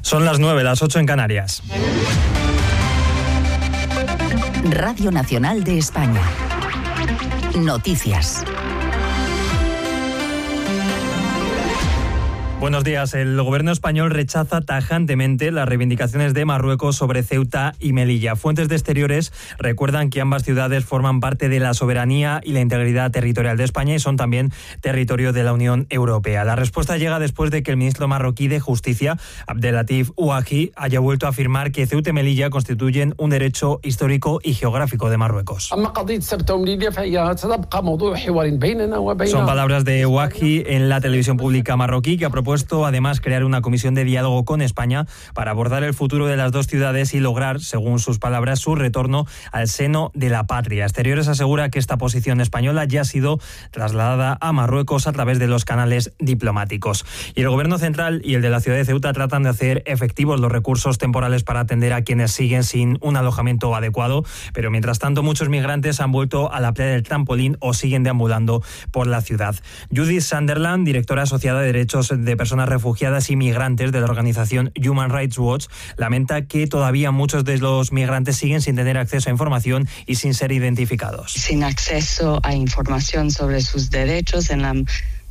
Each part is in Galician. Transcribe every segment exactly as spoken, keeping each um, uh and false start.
Son las nueve, las ocho en Canarias. Radio Nacional de España. Noticias. Buenos días. El gobierno español rechaza tajantemente las reivindicaciones de Marruecos sobre Ceuta y Melilla. Fuentes de Exteriores recuerdan que ambas ciudades forman parte de la soberanía y la integridad territorial de España y son también territorio de la Unión Europea. La respuesta llega después de que el ministro marroquí de Justicia, Abdelatif Ouahi, haya vuelto a afirmar que Ceuta y Melilla constituyen un derecho histórico y geográfico de Marruecos. Son palabras de Ouahi en la televisión pública marroquí, que ha propuesto además crear una comisión de diálogo con España para abordar el futuro de las dos ciudades y lograr, según sus palabras, su retorno al seno de la patria. Exteriores asegura que esta posición española ya ha sido trasladada a Marruecos a través de los canales diplomáticos. Y el gobierno central y el de la ciudad de Ceuta tratan de hacer efectivos los recursos temporales para atender a quienes siguen sin un alojamiento adecuado, pero mientras tanto muchos migrantes han vuelto a la playa del Trampolín o siguen deambulando por la ciudad. Judith Sunderland, directora asociada de Derechos de Personas Refugiadas y Migrantes de la organización Human Rights Watch, lamenta que todavía muchos de los migrantes siguen sin tener acceso a información y sin ser identificados. Sin acceso a información sobre sus derechos en la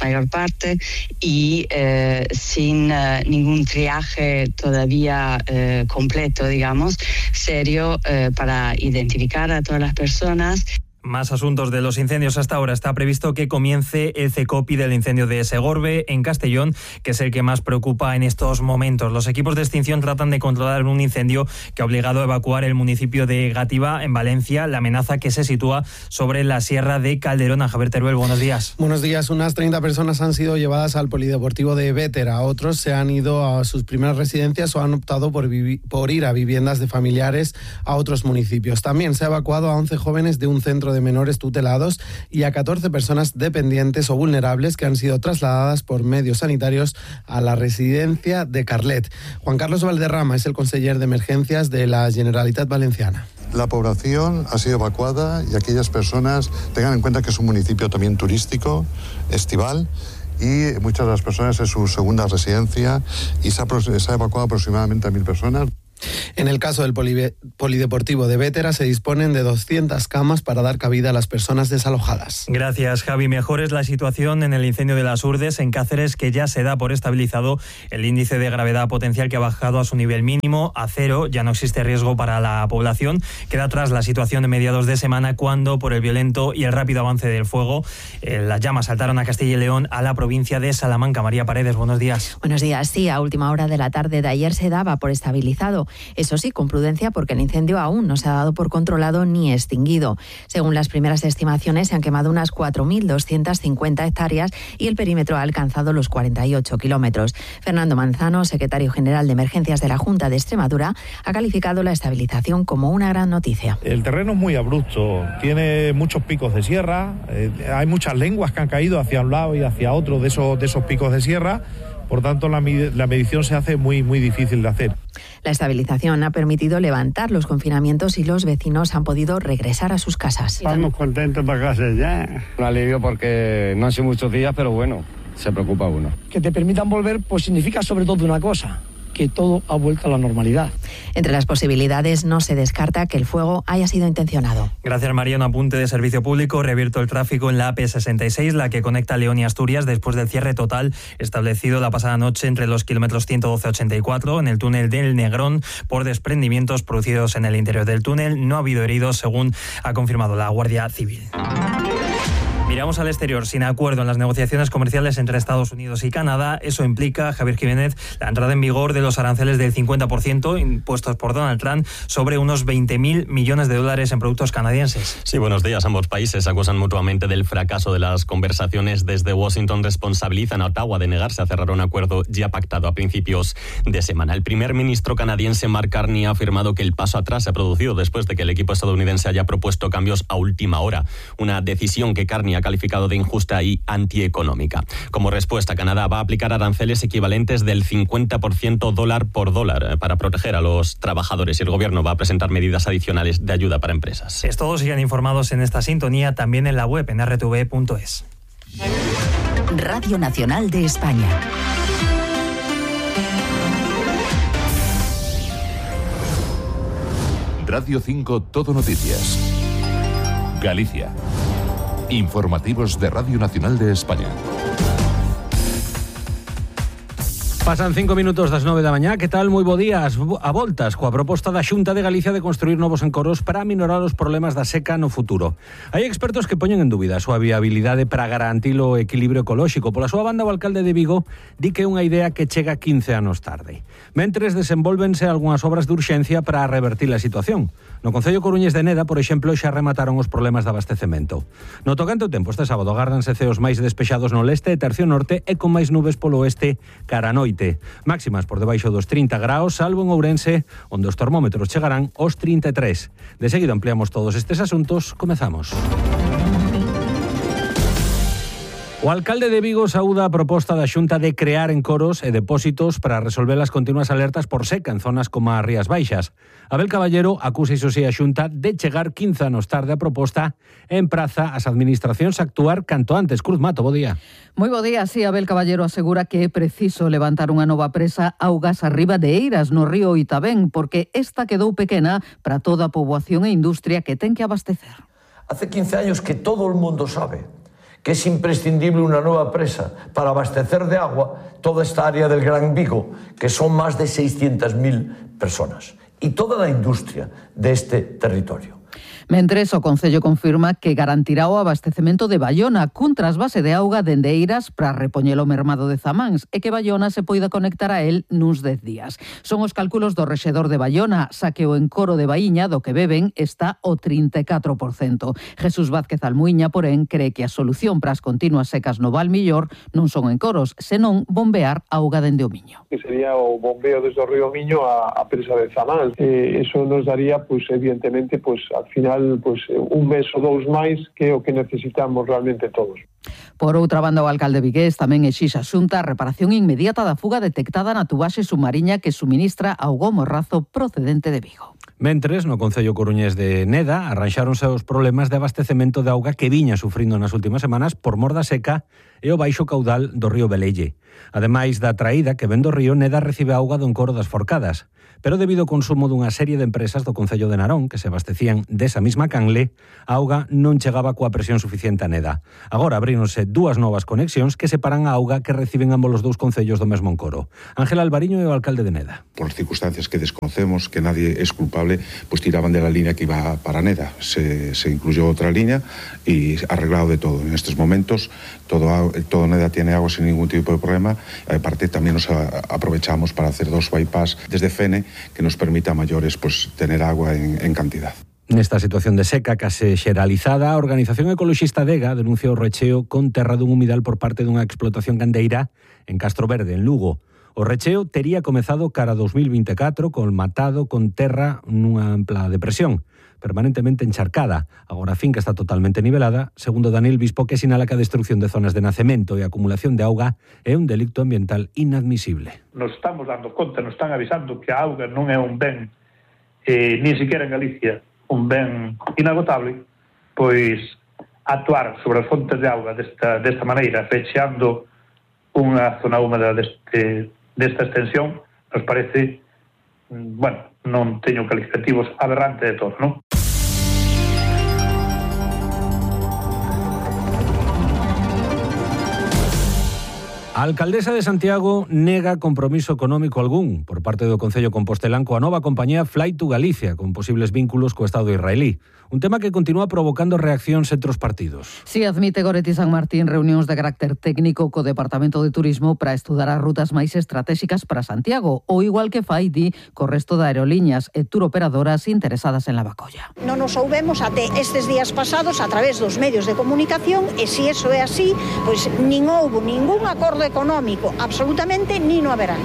mayor parte y eh, sin uh, ningún triaje todavía eh, completo, digamos, serio eh, para identificar a todas las personas. Más asuntos de los incendios hasta ahora. Está previsto que comience el CECOPI del incendio de Segorbe, en Castellón, que es el que más preocupa en estos momentos. Los equipos de extinción tratan de controlar un incendio que ha obligado a evacuar el municipio de Gátiva, en Valencia, la amenaza que se sitúa sobre la sierra de Calderón. A Javier Teruel, buenos días. Buenos días. Unas treinta personas han sido llevadas al polideportivo de Bétera. Otros se han ido a sus primeras residencias o han optado por, vivi- por ir a viviendas de familiares a otros municipios. También se ha evacuado a once jóvenes de un centro de de menores tutelados y a catorce personas dependientes o vulnerables que han sido trasladadas por medios sanitarios a la residencia de Carlet. Juan Carlos Valderrama es el conseller de emergencias de la Generalitat Valenciana. La población ha sido evacuada y aquellas personas tengan en cuenta que es un municipio también turístico, estival, y muchas de las personas es su segunda residencia y se ha, se ha evacuado aproximadamente a mil personas. En el caso del poli- polideportivo de Bétera se disponen de doscientas camas para dar cabida a las personas desalojadas. Gracias, Javi. Mejor es la situación en el incendio de las Urdes, en Cáceres, que ya se da por estabilizado el índice de gravedad potencial, que ha bajado a su nivel mínimo, a cero. Ya no existe riesgo para la población. Queda atrás la situación de mediados de semana, cuando, por el violento y el rápido avance del fuego, eh, las llamas saltaron a Castilla y León, a la provincia de Salamanca. María Paredes, buenos días. Buenos días. Sí, a última hora de la tarde de ayer se daba por estabilizado. Eso sí, con prudencia, porque el incendio aún no se ha dado por controlado ni extinguido. Según las primeras estimaciones, se han quemado unas cuatro mil doscientas cincuenta hectáreas y el perímetro ha alcanzado los cuarenta y ocho kilómetros. Fernando Manzano, secretario general de Emergencias de la Junta de Extremadura, ha calificado la estabilización como una gran noticia. El terreno es muy abrupto, tiene muchos picos de sierra, eh, hay muchas lenguas que han caído hacia un lado y hacia otro de esos, de esos picos de sierra. Por tanto, la, la medición se hace muy, muy difícil de hacer. La estabilización ha permitido levantar los confinamientos y los vecinos han podido regresar a sus casas. Estamos contentos para casa ya. Un alivio porque no han sido muchos días, pero bueno, se preocupa uno. Que te permitan volver, pues significa sobre todo una cosa, que todo ha vuelto a la normalidad. Entre las posibilidades no se descarta que el fuego haya sido intencionado. Gracias, María. Un apunte de servicio público. Reabierto el tráfico en la A P sesenta y seis, la que conecta León y Asturias, después del cierre total establecido la pasada noche entre los kilómetros ciento doce a ochenta y cuatro en el túnel del Negrón por desprendimientos producidos en el interior del túnel. No ha habido heridos, según ha confirmado la Guardia Civil. Miramos al exterior. Sin acuerdo en las negociaciones comerciales entre Estados Unidos y Canadá, eso implica, Javier Jiménez, la entrada en vigor de los aranceles del cincuenta por ciento impuestos por Donald Trump sobre unos veinte mil millones de dólares en productos canadienses. Sí, buenos días. Ambos países acusan mutuamente del fracaso de las conversaciones. Desde Washington responsabilizan a Ottawa de negarse a cerrar un acuerdo ya pactado a principios de semana. El primer ministro canadiense Mark Carney ha afirmado que el paso atrás se ha producido después de que el equipo estadounidense haya propuesto cambios a última hora. Una decisión que Carney ha calificado de injusta y antieconómica. Como respuesta, Canadá va a aplicar aranceles equivalentes del cincuenta por ciento dólar por dólar para proteger a los trabajadores, y el gobierno va a presentar medidas adicionales de ayuda para empresas. Es todo. Sigan informados en esta sintonía, también en la web en erre te ve punto es. Radio Nacional de España. Radio cinco Todo Noticias. Galicia. Informativos de Radio Nacional de España. Pasan cinco minutos das nove da mañá. Que tal? Moi bo día. A voltas coa proposta da Xunta de Galicia de construir novos encoros para aminorar os problemas da seca no futuro. Hai expertos que poñen en dúbida a súa viabilidade para garantir o equilibrio ecolóxico. Pola súa banda, o alcalde de Vigo di que é unha idea que chega quince anos tarde. Mentres, desenvólvense algunhas obras de urxencia para revertir a situación. No concello coruñés de Neda, por exemplo, xa remataron os problemas de abastecemento. No tocante ao tempo, este sábado agárdanse ceos máis despexados no leste e tercio norte e con máis nubes polo oeste cara a noite. Máximas por debaixo dos trinta graus, salvo en Ourense, onde os termómetros chegarán aos trinta e tres. De seguido ampliamos todos estes asuntos. Comezamos. O alcalde de Vigo saúda a proposta da Xunta de crear encoros e depósitos para resolver as continuas alertas por seca en zonas como as Rías Baixas. Abel Caballero acusa iso si a Xunta de chegar quince anos tarde a proposta e empraza as administracións a actuar canto antes. Cruz Mato, bo día. Moi bo día, sí, Abel Caballero asegura que é preciso levantar unha nova presa augas arriba de Eiras, no río Itabén, porque esta quedou pequena para toda a poboación e industria que ten que abastecer. Hace quince años que todo o mundo sabe que es imprescindible una nueva presa para abastecer de agua toda esta área del Gran Vigo, que son más de seiscientas mil personas, y toda la industria de este territorio. Mentres, o Concello confirma que garantirá o abastecemento de Baiona cun trasvase de auga dende Eiras para repoñer o mermado de Zamáns e que Baiona se poida conectar a él nuns dez días. Son os cálculos do rexedor de Baiona, xa que o encoro de Baíña do que beben está o trinta e catro por cento. Jesús Vázquez Almuiña, porén, cree que a solución para as continuas secas no Val Millor non son encoros, senón bombear auga dende o Miño. Que sería o bombeo desde o río Miño a, a presa de Zamáns. Eh, eso nos daría, pues, evidentemente, pues, al final pues, un mes ou dous máis que é o que necesitamos realmente todos. Por outra banda, o alcalde vigués tamén exixa a Xunta a reparación inmediata da fuga detectada na tubaxe submarina que suministra auga morrazo procedente de Vigo. Mentres, no concello coruñés de Neda, arranxáronse os problemas de abastecemento de auga que viña sufrindo nas últimas semanas por mor da seca e o baixo caudal do río Belelle. Ademais da traída que ven do río, Neda recibe auga do encoro das Forcadas. Pero debido ao consumo dunha serie de empresas do concello de Narón que se abastecían desa mesma canle, a auga non chegaba coa presión suficiente a Neda. Agora abríronse dúas novas conexións que separan a auga que reciben ambos os dous concellos do mesmo encoro. Ángel Alvariño é o alcalde de Neda. Por circunstancias que desconocemos, que nadie es culpable, pues tiraban de la línea que iba para Neda. Se, se incluyó otra línea y arreglado de todo. En estos momentos todo, todo Neda tiene agua sin ningún tipo de problema. Aparte también nos aprovechamos para hacer dos bypass desde Fene que nos permita a mayores pues, tener agua en, en cantidad. Nesta situación de seca case xeralizada, a organización ecoloxista Dega denuncia o recheo con terra dun humidal por parte dunha explotación gandeira en Castro Verde, en Lugo. O recheo tería comezado cara a dos mil vinte e catro colmatado con terra nunha ampla depresión, permanentemente encharcada. Agora a finca está totalmente nivelada, segundo Daniel Bispo, que sinala que a destrucción de zonas de nacemento e acumulación de auga é un delito ambiental inadmisible. Nos estamos dando conta, nos están avisando que a auga non é un ben, eh, ni siquiera en Galicia, un ben inagotable, pois actuar sobre as fontes de auga desta, desta maneira, fechando unha zona húmeda deste, desta extensión, nos parece, bueno, non teño calificativos, aberrante de todo, non? A alcaldesa de Santiago nega compromiso económico algún por parte do Concello Compostelán coa nova compañía Fly to Galicia, con posibles vínculos co Estado israelí. Un tema que continúa provocando reaccións entre os partidos. Si admite Goretti San Martín reunións de carácter técnico co Departamento de Turismo para estudar as rutas máis estratégicas para Santiago, ou igual que fai di co resto de aerolíneas e turoperadoras interesadas en la Bacolla. Non nos soubemos até estes días pasados a través dos medios de comunicación e se iso é así, pois nin houbo ningún acordo económico, absolutamente nin o haberá.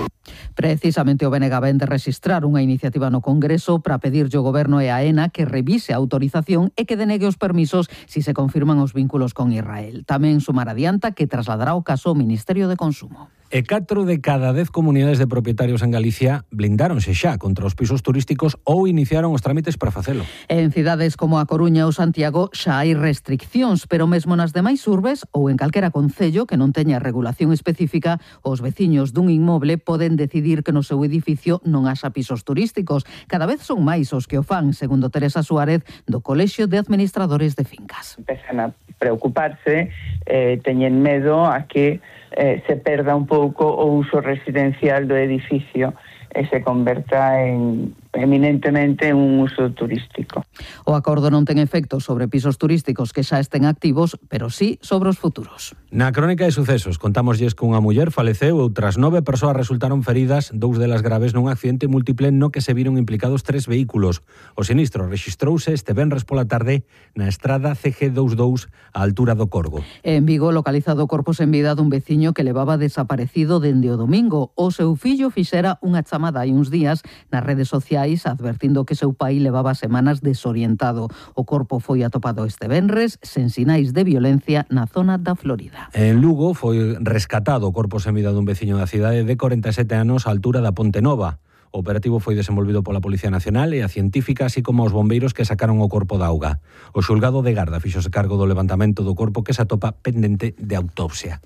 Precisamente o B N G ven de registrar unha iniciativa no Congreso para pedirlle ao Goberno e a AENA que revise a autorización e que denegue os permisos si se confirman os vínculos con Israel. Tamén Sumar adianta que trasladará o caso ao Ministerio de Consumo. E catro de cada dez comunidades de propietarios en Galicia blindáronse xa contra os pisos turísticos ou iniciaron os trámites para facelo. En cidades como a Coruña ou Santiago xa hai restriccións, pero mesmo nas demais urbes ou en calquera concello que non teña regulación específica, os veciños dun inmoble poden decidir que no seu edificio non haxa pisos turísticos. Cada vez son máis os que o fan, segundo Teresa Suárez, do Colexio de Administradores de Fincas. Empezan a preocuparse, eh, teñen medo a que eh, se perda un pouco o uso residencial do edificio e se converta en eminentemente un uso turístico. O acordo non ten efecto sobre pisos turísticos que xa estén activos, pero sí sobre os futuros. Na crónica de sucesos contámoslles que unha muller faleceu e outras nove persoas resultaron feridas, dous delas graves nun accidente múltiple no que se viron implicados tres vehículos. O sinistro rexistrouse este venres pola tarde na estrada C G veintitrés á altura do Corgo. En Vigo, localizado o corpo sen vida dun veciño que levaba desaparecido dende o domingo. O seu fillo fixera unha chamada hai uns días nas redes sociais advertindo que seu pai levaba semanas desorientado. O corpo foi atopado este venres sen sinais de violencia na zona da Florida. En Lugo foi rescatado o corpo sen vida dun veciño da cidade de corenta e sete anos á altura da Ponte Nova. O operativo foi desenvolvido pola Policía Nacional e a científica, así como os bombeiros que sacaron o corpo da auga. O xulgado de Garda fixose cargo do levantamento do corpo que se atopa pendente de autopsia.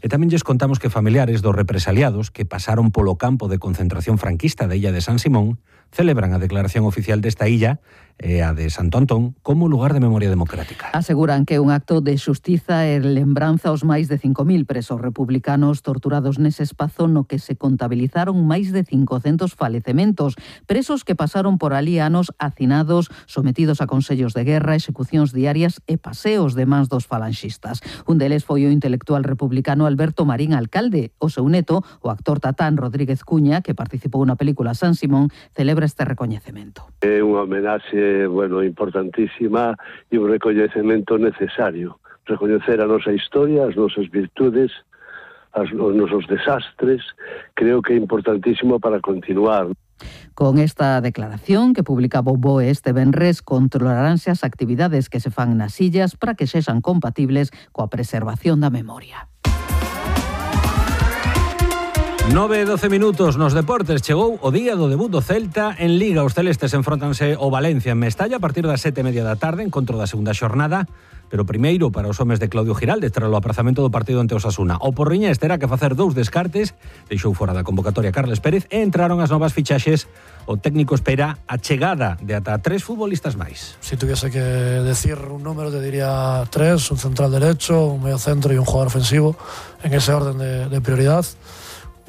E tamén lles contamos que familiares dos represaliados que pasaron polo campo de concentración franquista da illa de San Simón celebran a declaración oficial desta illa e a de Santo Antón como lugar de memoria democrática. Aseguran que é un acto de xustiza e lembranza aos máis de cinco mil presos republicanos torturados nese espazo no que se contabilizaron máis de cincocentos falecementos, presos que pasaron por ali anos hacinados, sometidos a consellos de guerra, execucións diarias e paseos de mans dos falanxistas. Un deles foi o intelectual republicano Alberto Marín Alcalde. O seu neto, o actor Tatán Rodríguez Cuña, que participou na película San Simón, celebra este recoñecemento. É unha homenaxe, bueno, importantísima e un recoñecemento necesario. Recoñecer a nosa historia, as nosas virtudes, as, os nosos desastres, creo que é importantísimo para continuar. Con esta declaración que publicaba o B O E este venres, controlaránse as actividades que se fan nas illas para que sexan compatibles coa preservación da memoria. nove e doce minutos nos deportes. Chegou o día do debut do Celta en Liga. Os celestes enfrontanse o Valencia en Mestalla a partir das sete e media da tarde, encontro da segunda xornada. Pero primeiro para os homes de Claudio Giraldes tras o aprazamento do partido ante Osasuna. O Porriñés terá que facer dous descartes, deixou fora da convocatoria Carles Pérez e entraron as novas fichaxes. O técnico espera a chegada de ata tres futbolistas máis. Si tuviese que decir un número te diría tres, un central derecho, un medio centro y un jugador ofensivo en ese orden de, de prioridad.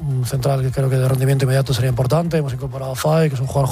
Un central que creo que de rendimiento inmediato sería importante. Hemos incorporado a Fay, que es un jugador